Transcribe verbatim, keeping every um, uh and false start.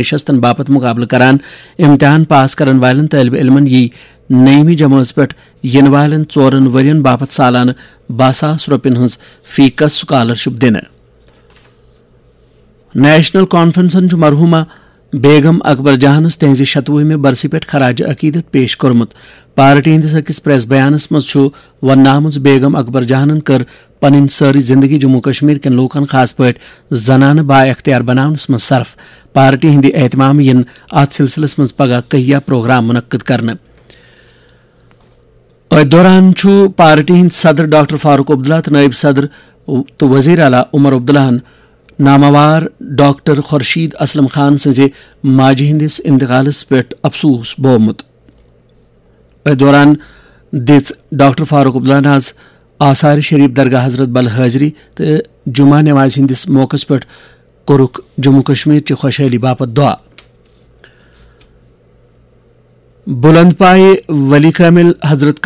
نشستن باپتھ مقابلہٕ کران۔ امتحان پاس کرن والٮ۪ن طٲلبہِ علمن یی نٔیمہِ جمٲژ پٮ۪ٹھ یِنہٕ والٮ۪ن ژورن ؤرین باپتھ سالانہٕ باہ ساس رۄپین ہٕنٛز فی کس سکالرشپ دِنہٕ۔ نیشنل کانفرنسن چھُ مرحومہ بیگم اکبر جہانس تہنزِ شتوُہمہِ برسہِ پٮ۪ٹھ خراج عقیدت پیش کوٚرمُت۔ پارٹی ہٕنٛدِس أکِس پریس بیانس منٛز چھُ وننہٕ آمُت زِ بیگم اکبر جہانن کٔر پنٕنۍ سٲرٕے زندگی جموں کشمیر کٮ۪ن لوٗکن، خاص پٲٹھۍ زنانہٕ، با اختیار بناونس منٛز صرف۔ پارٹی ہٕنٛدِ اہتمام یِن اتھ سلسلس منٛز پگاہ کہیا پروگرام منعقد کرنہٕ۔ أتھۍ دوران چھُ پارٹی ہٕنٛدۍ صدر ڈاکٹر فاروق عبداللہ تہٕ نٲیِب صدر تہٕ وزیر اعلیٰ عمر عبداللہن ناماوار ڈاکٹر خورشید اسلم خان سٕنٛزِ ماجہِ ہٕنٛدِس انتقالس پٮ۪ٹھ افسوس بوومُت۔ أتھۍ دوران دِژ ڈاکٹر فاروق عبداللہن آز آثار شریف درگاہ حضرت بل حٲضری تہٕ جمعہ نمازِ ہٕنٛدِس موقعس پٮ۪ٹھ کوٚرُکھ جموں کشمیر چہِ خۄشحٲلی باپتھ دعا۔ بلند پایہِ ولی کامل حضرت